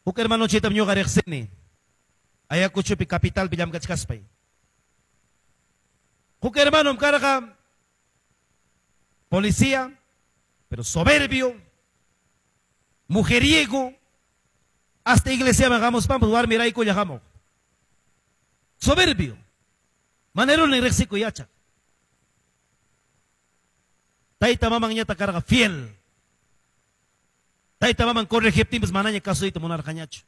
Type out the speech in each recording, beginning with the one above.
Huk hermanochitam ñuqa riqsini. Ayacuchopi capitalpi llamkachkaspay. Huk hermanom karqa policía, pero soberbio, mujeriego, hasta iglesiaman hamuspanpas warmiraykulla hamuq. Soberbio. Maneruni riqsikuy yachaq. Tayta mamanñata karqa fiel. Tayta maman corregiptinpas manaña kasuyta munarqañachu.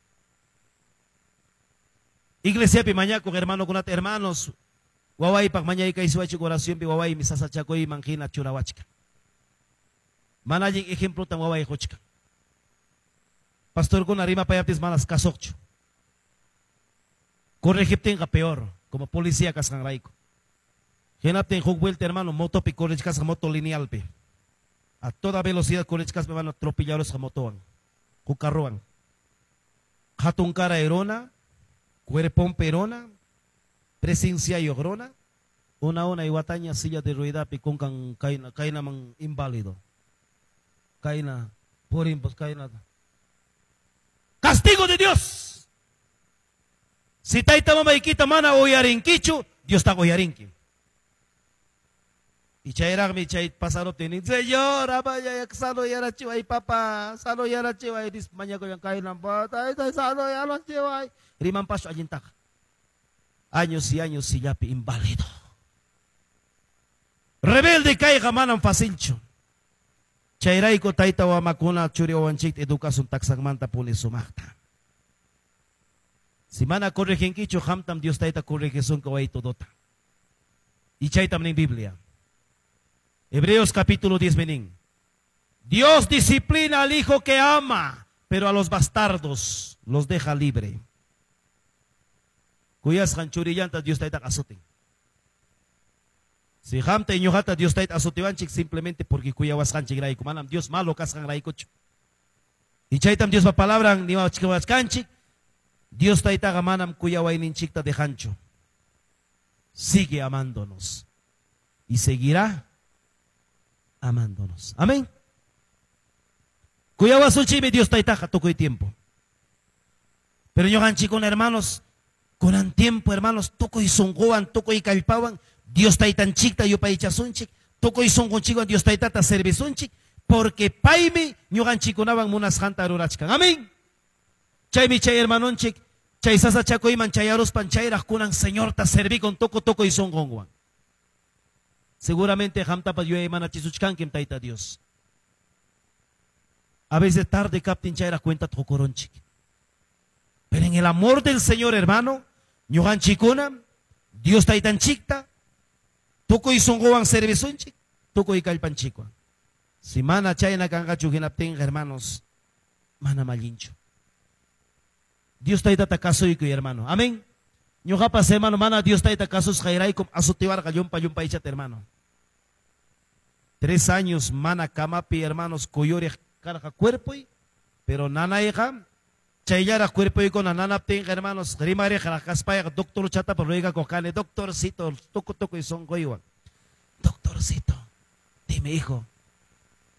Iglesiapi mañakuq hermanokunata, hermanos, wawaypaq mañaykaysiwachik oracionpi wawaymi sasachakuyman hina churawachkan. Mana allin ejemplotam waway quchkan. Pastorkuna rimapayaptinpas manas kasuqchu. Corregiptinqa peor, como policía kasqanrayku. Hinaptin huk vuelta, hermano, motopi correchkasqa moto linealpi. A toda velocidad correchkaspa, hermano, atropellarusqa motowan. Huk carrowan. Hatun karay runa, cuerponpi runa, presenciayuq runa, una una wataña silla de ruedapi kunkan kayna kaynaman inválido. Kayna purinpas kayna. Castigo de Dios. Si tayta mamaykita mana uyarinkichu, Diosta uyarinki. Y chayraqmi chay pasaruptin, Señor, amaya sanoyarachiway papá, sanoyarachiway, nispa mañakuyan kayna, tayta sanoyarachiway. Rimanpaschu allintaqa. Años y años sillapi inválido. Rebelde kayqa manam facilchu. Chayrayku tayta mamakuna churi wawanchikta educasun taksanmanta puni sumaqta. Si mana correginkichu, qamtam Dios tayta corregisunki way todota. Y chaytam nin Biblia. Hebreos capítulo 10 menin. Dios disciplina al hijo que ama, pero a los bastardos los deja libre. Kuyasqan churillanta Dios tayta asutin. Si qamta y ñuqata Dios tayta asutiwanchik simplemente porque kuyawasqanchikrayku, manam Dios malo kasqanraykuchu. Y chaytam Diospa palabran niwachkanchik, Dios taytaqa manam kuyawayninchikta dejanchu. Sigue amándonos y seguirá amándonos. Amén. Kuyawasunchikmi Dios taytaqa tukuy tiempo. Pero ñuqanchikkuna, hermanos, kunan tiempo, hermanos, tukuy sunquwan, tukuy kallpawan, Dios taytanchikta yupaychasunchik, tukuy sunqunchikwan Dios taytata servisunchik, porque paymi ñuqanchikkunawan munasqanta rurachkan. Amén. Chaymi chay hermanonchik, chay sasachakuyman chayaruspan chayraq kunan Señorta servikun tukuy sunqunwan. Seguramente qamtapas yuyaymanachisuchkankim Tayta Dios. A veces tarde kaptin chayraq cuenta qukurunchik. Pero en el amor del Señor, hermano, ñuqanchikkuna, Dios taytanchikta, tukuy sunquwan servisunchik, tukuy kallpanchikwan. Si mana chayna kanqachu hinaptinqa, hermanos, mana allinchu. Dios taytata kasuykuy, hermano. Amén. Ñuqapas, hermano, mana Dios tayta kasusqayraykum asutiwarqa llumpa llumpaychata, hermano. 3 años mana kamapi, hermanos, kuyuriq karqa cuerpoy, pero nanayqa chayllaraq cuerpoykuna nanaptinqa, hermanos, rimariqraq kaspayqa doctor chatapa ruegakuq kani, doctorcito, tuku tukuy sunquywan. Doctorcito, dime, hijo,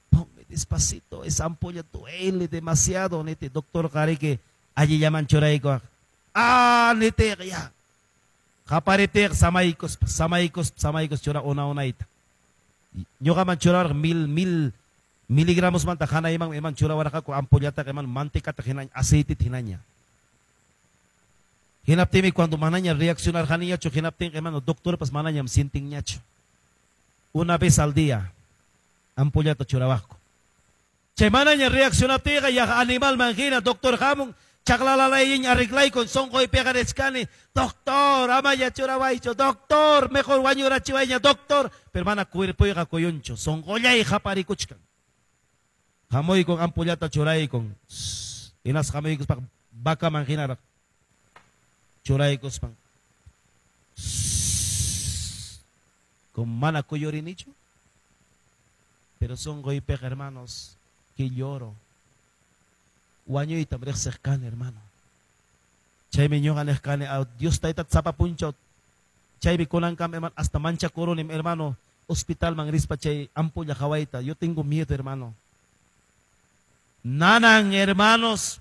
ponme despacito, esa ampolla duele demasiado, nete, doctor qariki allillaman churaykuaq. Ah, nete, ya. Qaparitiq samaykuspa, samaykuspa, samaykus chura una unayta. Ñuqaman churawarqa 1000 miligramos manta hanayman iman churawarqaku ampollataqa iman mantecata hinaña, aceitita hinaña. Hinaptinmi cuando manaña reaccionarqaniñachu, hinaptinqa, hermano, doctorpas manañam sientinñachu. Una vez al día ampollata churawaqku. Chay manaña reaccionaptinqa ya animalman hina doctor hamun chaqlalalayña arreglaykun sunquypiqa richkani, doctor, amaya churawaychu, doctor, mejor wañurachiwayña, doctor. Pero mana cuerpoyqa kuyunchu, sunqullay qaparikuchkan. Hamuykun ampollata churaykun. Hinas hamuykuspa vacaman hinaraq churaykuspan. Con mana kuyurinichu. Pero sunquypiqa, hermanos, que lloro. Wañuytam riqsiq kani, hermano. Chaymi ñuqa niq kani, Dios tayta sapa punchaw. Chaymi kunankam, hermano, hasta manchakurunim, hermano, hospitalman rispa chay ampolla qhawayta. Yo tengo miedo, hermano. Nanan, hermanos,